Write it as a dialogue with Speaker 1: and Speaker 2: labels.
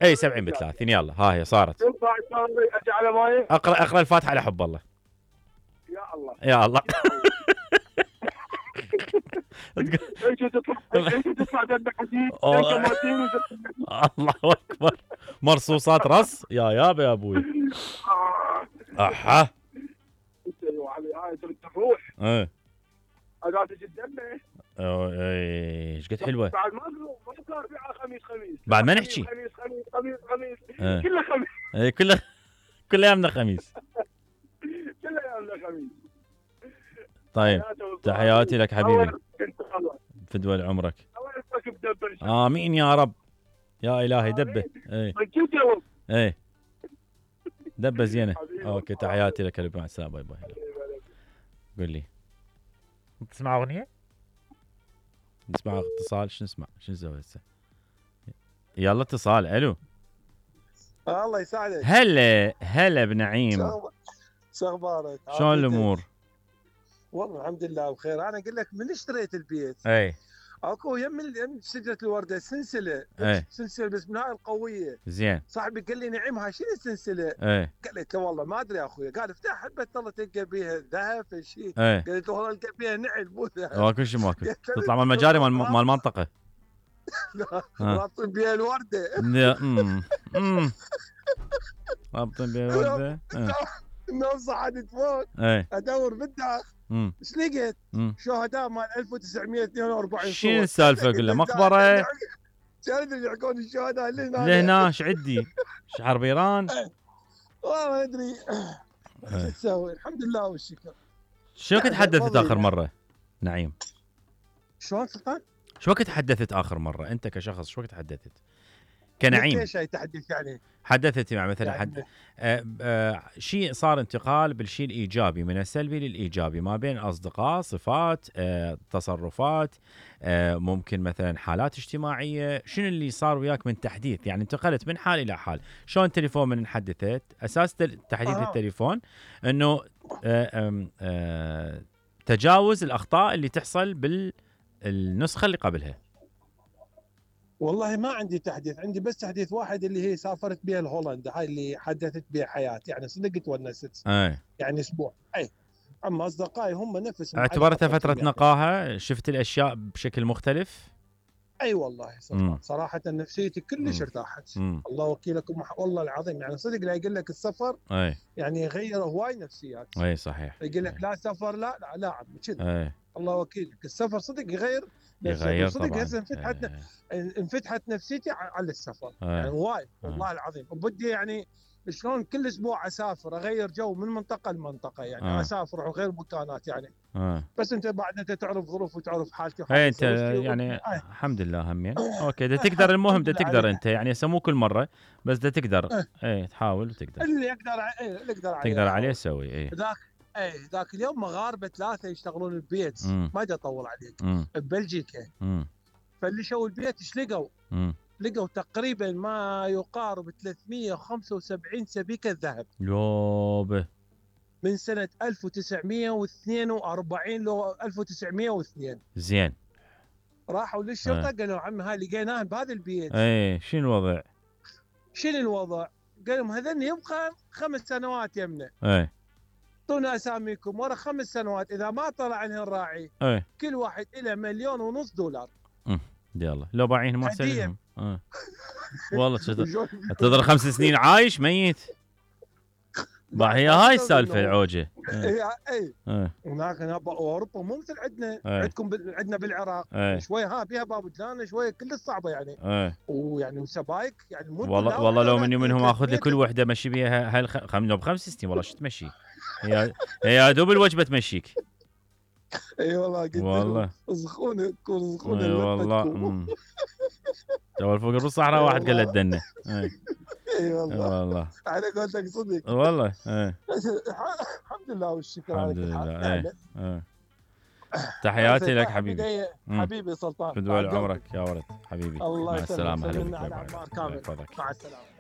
Speaker 1: اي 70 ب30 يلا ها هي صارت.
Speaker 2: ينفع ارجع على ماي؟
Speaker 1: اقرا الفاتحه على حب الله.
Speaker 2: يا الله
Speaker 1: يا الله.
Speaker 2: ايش تطلع دم حديد
Speaker 1: الله اكبر. مرصوصات رص يا يابا يا ابوي. احا
Speaker 2: هاي تروح
Speaker 1: ايه
Speaker 2: اداه الدمه.
Speaker 1: ايش قد حلوه.
Speaker 2: بعد ما صار فيها خميس
Speaker 1: بعد ما نحكي
Speaker 2: خميس كله خميس.
Speaker 1: اي كل ايامنا خميس.
Speaker 2: كل ايامنا خميس.
Speaker 1: طيب تحياتي لك حبيبي. فدوى عمرك. امين يا رب. يا الهي دبه. ايه دبه زينه. اوكي تحياتي لك مع السلامه. باي باي. قول لي تسمع اغنيه؟ نسمع اتصال. شو نسمع؟ شو نسوي هسه؟ يلا اتصال. الو.
Speaker 3: الله يسعدك.
Speaker 1: هلا بنعيم.
Speaker 3: شو اخبارك؟
Speaker 1: شلون الامور؟
Speaker 3: والله الحمد لله بخير. انا اقول لك من اشتريت البيت
Speaker 1: اي
Speaker 3: اكو يم شجره الورده سلسله. سلسله بس من هاي القويه.
Speaker 1: زين.
Speaker 3: صاحبي قال لي نعيم هاي شنو السلسله؟ قلت له والله ما ادري يا اخوي. قال افتح حبه الله تلقى بيها ذهب شيء. قلت له والله القى بيها نعل مو ذهب.
Speaker 1: ماكو شيء ماكو. تطلع من المجاري مال المنطقه.
Speaker 3: رابطين بيها الورده.
Speaker 1: رابطين بيها الورده.
Speaker 3: النوم صعدت فوق ادور بالداخل. ايش لقيت؟ شهداء مال 1942.
Speaker 1: شنو السالفه؟ قل له مقبره.
Speaker 3: شنو اللي يحكون الشهداء
Speaker 1: لهنا ايش عدي؟ شعر بيران؟
Speaker 3: والله ما ادري شو تسوي. الحمد لله والشكر.
Speaker 1: شو وقت تحدثت اخر مره نعيم؟
Speaker 3: شلون سلطان؟
Speaker 1: شو وقت تحدثت اخر مره انت كشخص؟ شو وقت تحدثت كنعيم؟
Speaker 3: ايش تحدث يعني؟
Speaker 1: حدثت مع مثلا شيء صار انتقال بالشيء الايجابي من السلبي للايجابي ما بين اصدقاء، صفات، تصرفات، ممكن مثلا حالات اجتماعيه. شنو اللي صار وياك من تحديث؟ يعني انتقلت من حال الى حال. شلون التليفون من حدثت؟ اساس تحديث التليفون انه تجاوز الاخطاء اللي تحصل بالنسخه اللي قبلها.
Speaker 3: والله ما عندي تحديث. عندي بس تحديث واحد اللي هي سافرت بها لهولندا. هاي اللي حدثت بها حياتي. يعني صدق تونست. يعني اسبوع. اما اصدقائي هم نفسهم.
Speaker 1: اعتبرتها فتره نقاهه. شفت الاشياء بشكل مختلف.
Speaker 3: والله صراحه نفسيتي كلش ارتاحت. الله وكيلكم والله العظيم. يعني صدق لا يقول لك السفر يعني غير هواي نفسيات.
Speaker 1: صحيح.
Speaker 3: يقول لك لا سفر لا عم كذا. الله وكيلك السفر صدق يغير صدق
Speaker 1: طبعا.
Speaker 3: هسه انفتحت نفسيتي على السفر. يعني وايد والله العظيم. وبدي يعني شلون كل اسبوع اسافر اغير جو من منطقه لمنطقه. يعني اسافر وغير مكانات يعني. بس انت بعد انت تعرف ظروف وتعرف حالتي.
Speaker 1: انت يعني الحمد لله همين. اوكي تقدر. المهم تقدر انت يعني مو كل مره بس تقدر. تحاول وتقدر.
Speaker 3: اللي يقدر
Speaker 1: عليه سوي.
Speaker 3: ذاك اليوم مغاربه 3 يشتغلون البيت. ما ادري اطول عليك. ببلجيكا. فاللي شو البيت ايش لقوا؟ لقوا تقريبا ما يقارب 375 سبيكه ذهب.
Speaker 1: يوبه.
Speaker 3: من سنه 1942 لو 1902.
Speaker 1: زين.
Speaker 3: راحوا للشرطه قالوا عمي هاي لقيناها بهذا البيت.
Speaker 1: شنو
Speaker 3: الوضع؟ قالوا لهم هذن يبقى 5 سنوات يمنا. اعطونا اساميكم. ورا 5 سنوات اذا ما طلع عنها الراعي كل واحد له $1,500,000.
Speaker 1: يلا لو باعينهم احسن لهم. والله تضر 5 سنين عايش ميت. هي هاي السالفه العوجه.
Speaker 3: هناك اوروبا مو مثل عندنا. عندكم عندنا بالعراق شويه بيها بابدلان شويه كل صعبه يعني. ويعني وسبايك يعني مو.
Speaker 1: والله لو مني منهم اخذ لي كل وحده مشي بيها ب5 سنين. والله شو تمشي؟ هي دوب الوجبه تمشيك.
Speaker 3: والله قلت
Speaker 1: والله
Speaker 3: رزقونا
Speaker 1: والله. اول فوق بالصحراء واحد قال له الدنه. والله
Speaker 3: على قولتك صدق.
Speaker 1: والله
Speaker 3: الحمد لله والشكر.
Speaker 1: الحمد لله. تحياتي لك حبيبي.
Speaker 3: حبيبي سلطان.
Speaker 1: فدوى عمرك يا ولد حبيبي.
Speaker 3: الله
Speaker 1: مع السلامه.
Speaker 3: مع السلامه.